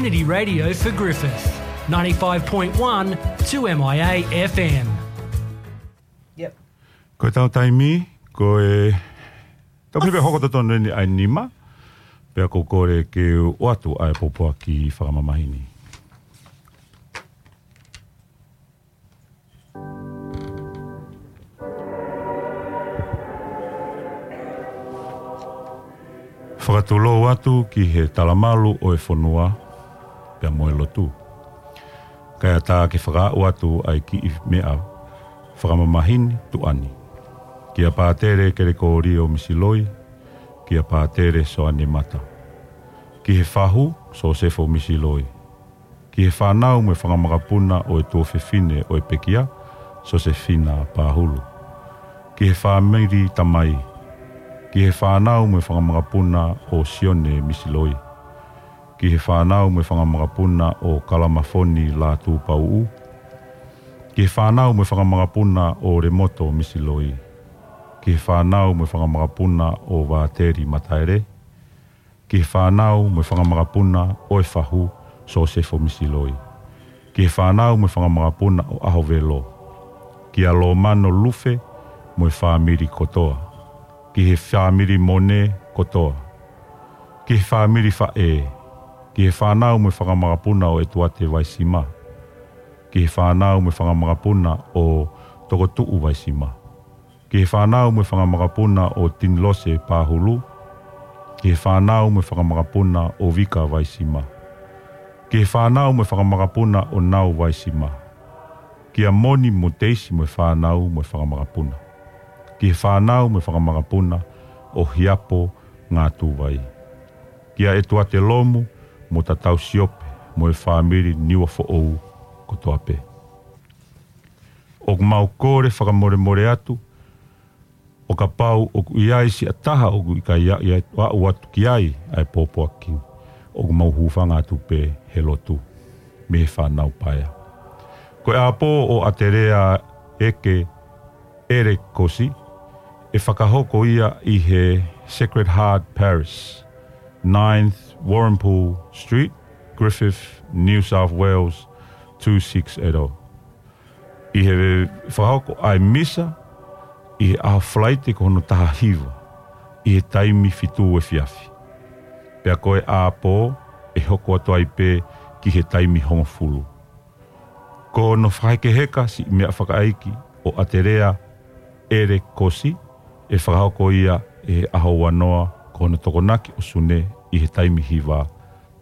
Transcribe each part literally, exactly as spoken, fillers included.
Community Radio for Griffith, ninety-five point one two M I A F M. Yep. Ko ʻetau taimi, ko e tau pē hoko totonu eni ʻa e nima, pea ʻoku ou kole ke u ʻoatu ʻa e pōpoaki fakamamahi ni. Fakatulou atu ki he talamalu ʻo e fonua, pea mo e lotu. Kae ʻatā ke fakaaʻu atu ʻa e kiʻi meʻa fakamamahi ni tuʻa ni. Kia Pātele Kelekōlio Misiloi, kia Pātele Soane Mata. Ki he fahu, Sosefo Misiloi. Ki he fānau mo e fanga makapuna ʻo e tuofefine ʻo e pekia, Sosefina Pahulu. Ki he fāmili tamai. Ki he fānau mo e fanga makapuna ʻo Sione Misiloi. Ki he fānau mo e fanga makapuna ʻo Kalamafoni Lātūpauʻu. Ki he fānau mo e fanga makapuna ʻo Lemoto Misiloi. Ki he fānau mo e fanga makapuna ʻo Vāteli Mataele. Ki he fānau mo e fanga makapuna ʻo e fahu, Sosefo Misiloi. Ki he fānau mo e fanga makapuna ʻo ʻAhovelo. Kia Lomano Lufe mo e fāmili kotoa. Ki he fāmili Mone kotoa. Ki he fāmili Faʻē. Ki he fānau mo e fanga makapuna ʻo ʻEtuate Vaisima. Ki he fānau mo e fanga makapuna ʻo Tokotuʻu Vaisima. Ki he fānau mo e fanga makapuna ʻo Tinilose Pahulu. Ki he fānau mo e fanga makapuna ʻo Vika Vaisima. Ki he fānau mo e fanga makapuna ʻo Nau Vaisima. Kia Moni mo Teisi mo e fānau mo e fanga makapuna. Ki he fānau mo e fanga makapuna ʻo Hiapo Ngātūvai. Kia ʻEtuate Lomu mo Tatau Siope mo e fāmili Niuafoʻou kotoa pē. ʻOku mau kole fakamolemole atu, ʻo kapau ʻoku ʻi ai siʻa taha ʻoku ʻikai aʻu atu ki ai ʻa e pōpoaki, ʻoku mau hūfanga atu pē he lotu mei he fānau paea. Ko e ʻapō ʻo ʻAtelea ʻEke ʻElekosi, ʻe fakahoko ia ʻi he Sacred Heart Parish, ninth Warrnambool Street, Griffith, New South Wales, two six eight oh. ʻI he fakahoko ʻa e misa, ʻi he ʻaho Falaite ko hono taha hiva, ʻi he taimi fitu efiafi. Pea ko e ʻapō, ʻe hoko atu ai pē ki he taimi hongofulu. Ko hono fakahekeheka siʻi meʻa fakaʻeiki ʻo ʻAtelea ʻElekosi, ʻe fakahoko ia ʻi he ʻaho uanoa, ko hono tokonaki ʻo Sune ʻi he taimi hiva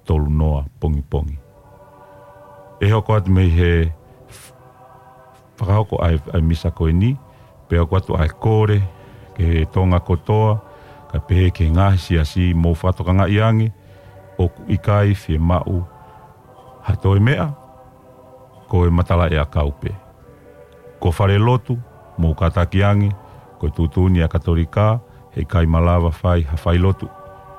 tolunoa pongipongi. ʻE hoko atu mei he f-, fakahoko ʻa e, ʻa e misa ko eni, pea ʻoku ʻoatu ʻa e kole ki he Tonga kotoa, kae pehē ki he ngaahi siasi, mou fakatokangaʻi ange ʻoku ʻikai fiemaʻu ha toe meʻa, ko e matalaʻiʻakau pē. Ko e fale lotu, mou kātaki ange, ko e tuʻutuʻuni ʻa e Katolika, heʻikai malava fai ha fai lotu,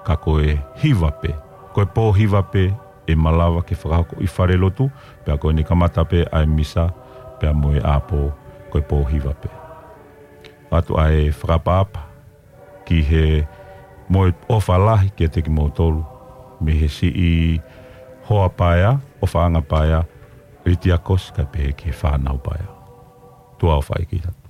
ka ko e hiva pē. Ko e pō hiva pē ʻe malava ke fakahoko ʻi fale lotu, pea ko eni kamata pē ʻa e misa, pea mo e ʻapō, ko e pō hiva pē. ʻOatu ʻa e fakaʻapaʻapa ki he, mo e ʻofa lahi kiate kimoutolu, mei he siʻi hoa paea, ʻofaʻanga paea, Litiakosi kae pehē ki he fānau paea. Tuʻa ʻofa ʻeiki atu.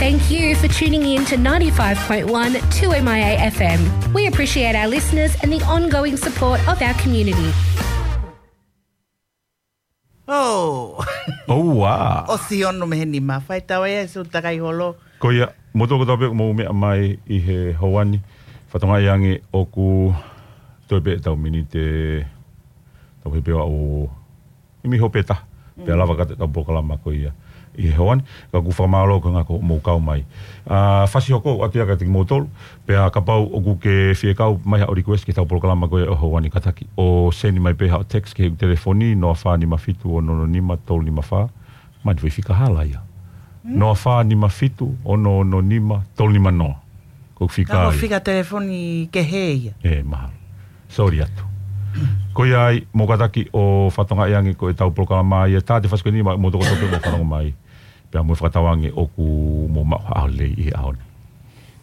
Thank you for tuning in to ninety-five point one two M I A F M. We appreciate our listeners and the ongoing support of our community. Oh. Oh, wow. ʻOsi ono mei he nima, fai tau ē, su takai holo. Ko ia, mo toko tau pē mo meʻa mai ʻi he houa ni, fatongia ange ʻoku toe pē tau miniti, tau pē pea o, ʻimi hope ta, pea lava ka te tau polokalama ko ia. ʻI he houa ni, ka ʻoku fakamālō ko e ngaahi ko mou kau mai. ʻA, fasi hoko atu ia kiate kimoutolu, pea kapau ʻoku ke fie kau mai ha request ki he tau polokalama ko ia ʻo e houa ni kātaki. ʻO send mai pē ha text ki he telefoni, noa fā nima fitu ono ono nima tolu nima fā, mani fai fika hala ia. Noa fā nima fitu ono ono nima tolu nima noa. Ko e fika. Ka ko e fika telefoni kehe ia. ʻE, mahalo. Sorry atu. Ko ia ai, mou kātaki ʻo fatongia ange ko e tau polokalama ia, tā te fasi ko eni mo toko tau pē mo fanongo mai. Pea mo fakatauange ʻoku mou maʻu ha ʻaho lelei ʻi he ʻaho ni.